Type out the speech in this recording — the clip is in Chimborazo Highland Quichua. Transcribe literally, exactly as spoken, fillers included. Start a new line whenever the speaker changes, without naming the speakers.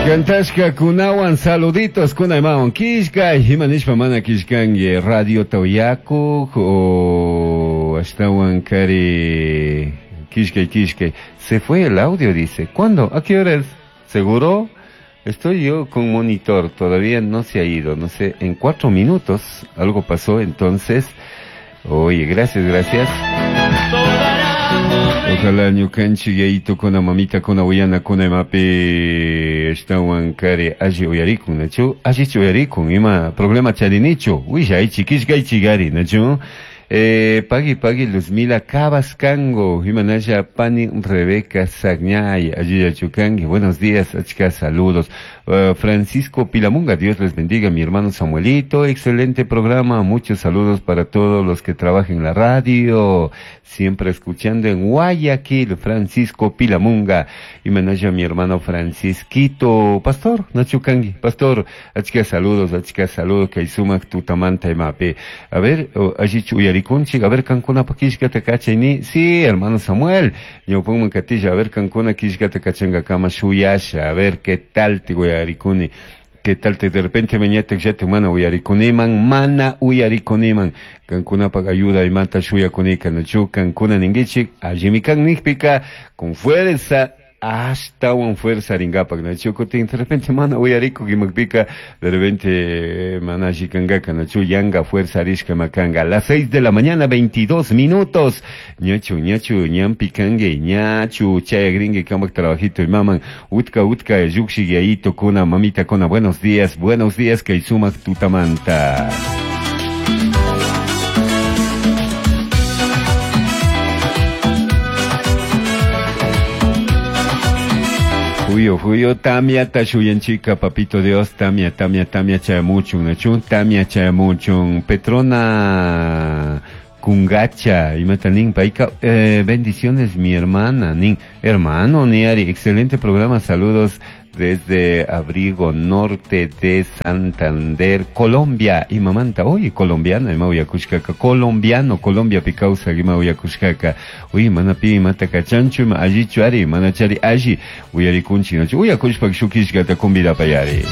Kantashka kunawan saluditos kunaymawan kishkay himanishpa mana kishkanki radio tawyakuq o ashtawan kari kishkay kishkay. Se fue el audio, dice. ¿Cuándo? ¿A qué hora es? ¿Seguro? Estoy yo con monitor, todavía no se ha ido, no sé, en cuatro minutos algo pasó, entonces, oye, gracias, gracias. Ojalá ñukanchik yayito kuna mamita kuna uyana kuna imapi ashtawan kari alli uyarikun, nachu? Allichu uyarikun, ima problema charinichu, willaychi, kishkaychigari, nachu? Eh, pagui pagui Luzmila Cabascango, Himanaya Pani Rebeca Sagñay, Ayuya Chucangue, buenos días, achka, saludos. Uh, Francisco Pilamunga, Dios les bendiga, mi hermano Samuelito, excelente programa, muchos saludos para todos los que trabajan en la radio, siempre escuchando en Guayaquil, Francisco Pilamunga, Himanaya mi hermano Francisquito, Pastor, Nachucangui, Pastor, achka, saludos, achka, saludos, Kaisumak, Tutamanta, Imape. A ver, oh, allichu uyarikunchik, a ver, kankuna pa kishkata kachayni, sí, hermano Samuel, ñawpanman katisha, a ver, kankuna kishkata kachangakama shuyasha, a ver, qué tal te uyarikuni, qué tal te de repente mañana ya te mana uyarikuniman, mana uyarikuniman, kankunapaq ayuda imata shuyakunika, nachu, kankuna ningichik, allimikan nikpika, con fuerza, hasta un fuerza ringapak nachu kutin de repente mana uyariku kimakpika de repente mana shikangaka nachu yanga fuerza rishka makanga. Las seis de la mañana veintidós minutos, ñachu ñachu ñampi kangue ñachu chayagringue kamak trabajito y maman utka utka yuxi yayito kuna mamita kuna, buenos días, buenos días kay sumak tutamanta. Fuyo, fuyo, tamia tashuyanchica, papito Dios, tamia, tamia, tamia, chayamuchun, nachun, tamia, chayamuchun, Petrona Kungacha, imatanin, paika, eh, bendiciones mi hermana, nin, hermano, niari, excelente programa, saludos desde Abrigo Norte de Santander, Colombia, y mamanta, oye, colombiana, ima uyakushkaka, colombiano, Colombia picausa, ima uyakushkaka, uy, mana pi, mata kachanchu, ima allichu ari, mana chari alli, uyarikunchi, nachu, uyakushpak shukishkata kumbida payari.